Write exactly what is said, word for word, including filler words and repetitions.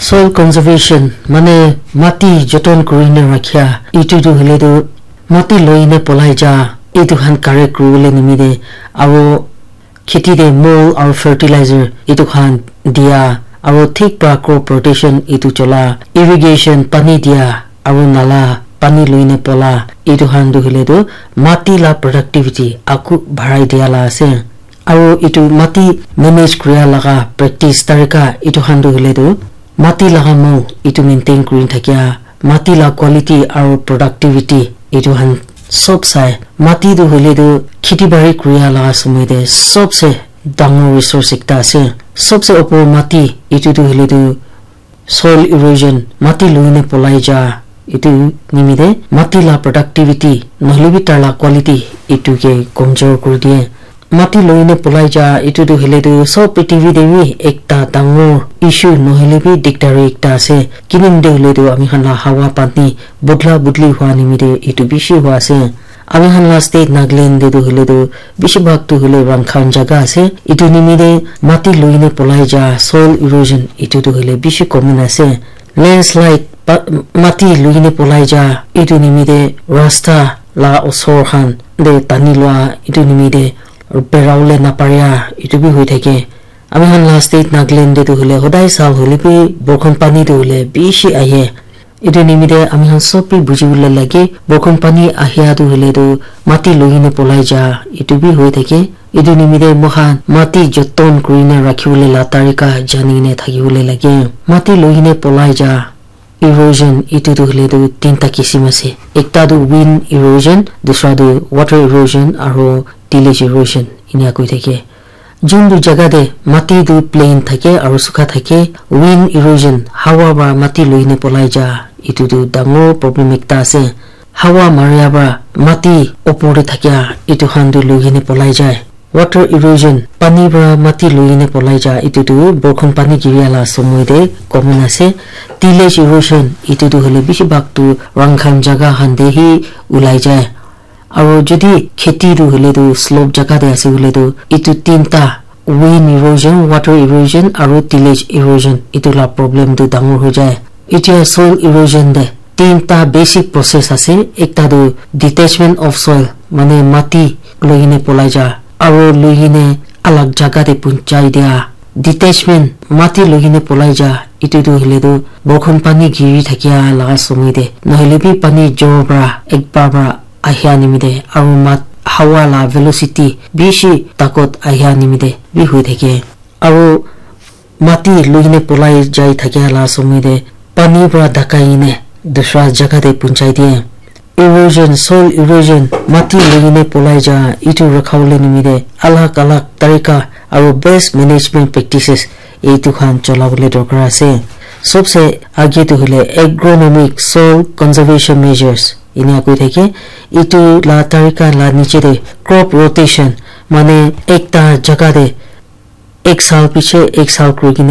Soil conservation mane mati joton kurine rakhia, itu tu hoile tu mati loine polai ja, itu khan correct kuribole nimite aro kheti te mol aro fertilizer itu khan dia, aro thik pra crop rotation itu chola, irrigation pani dia, aro nala pani loine pola, itu khan tu hoile tu mati la productivity aku barai dia la ase. Aro itu mati manage kuria laga practice tarika itu khan tu hoile tu mati laga mol itu maintain kuri thakia, mati la quality aro productivity itu khan sob sai. Mati tu hoile tu kheti bari kuria laga somoi te sobse dangor resource ekta ase. Sobse opor mati itu tu hoile tu soil erosion, mati loine polai ja, itu nimite mati la productivity nohole bi tar la quality itu ke komjor kuri diye. Mati loine polai ja itu tu hoile tu sob prithibi te bi ekta dangor issue nohole bi dikdari ekta ase. Kinin te hoile tu ami khan la hawa pani budla budli hua nimite itu bishi hua ase. Ami khan la state Nagaland te tu hoile tu bishi bhag tu hoile rankhan jaga ase. Itu nimite mati loine polai ja, soil erosion, itu tu hoile bishi common ase. Landslide, pa-, mati loine polai ja, itu nimite rasta la osor khan te tani lua, itu nimite berawole naparia, itu bi hoi thake. Ami khan la state Nagaland te tu hoile hodai sal hoile bi borkhon pani tu hoile bishi ahe. Itu nimite ami khan sob bi buji bole lage, borkhon pani ahia tu hoile tu mati loine polai ja, itu bi hoi thake. Itu nimite moikhan mati joton kurine rakhibole la tarika janine thakibole lage. Mati loine polai ja, erosion, itu tu hoile tu tinta kisim ase. Ekta tu wind erosion, dusra tu water erosion, aro tillage erosion, inia koi thake. Juntu jaga te mati tu plain thake aro sukha thake, wind erosion, hawa para mati loine polai ja, itu tu dangor problem ekta ase. Hawa maria para mati opor te thakia itu khan tu loine polai jai. Water erosion, pani para mati loine polai ja, itu tu borkhon pani giria la somoi te common ase. Tillage erosion, itu tu hoile bishi bhag tu rankhan jaga khan te hi ulai jai. Aro jodi kheti tu hoile tu slope jaga te ase hoile tu, itu tinta, wind erosion, water erosion, aro tillage erosion, itu la problem tu dangor hoi jai. Itya soil erosion te tinta basic process ase. Ekta tu detachment of soil, mane mati loine polai ja, aro loine alag jaga te punchai dia. Detachment, mati loine polai ja, itu tu hoile tu borkhon pani giri thakia laga somoi te, nohole bi pani jor para ekbar para ahia nimite, aro mat hawa la velocity bishi takot ahia nimite bi hoi thake. Aro mati loine polai jai thakia la somoi te pani para dakai ne dusra jaga te punchai diye. Erosion, soil erosion, mati loine polai ja, itu rakhabole nimite alag alag tarika aro best management practices itu khan cholabole dorkar ase. Sobse age tu hoile agronomic soil conservation measures, inia koi thake. Itu la tarika la niche te crop rotation, mane ekta jaga te ek sal piche ek sal kuri kene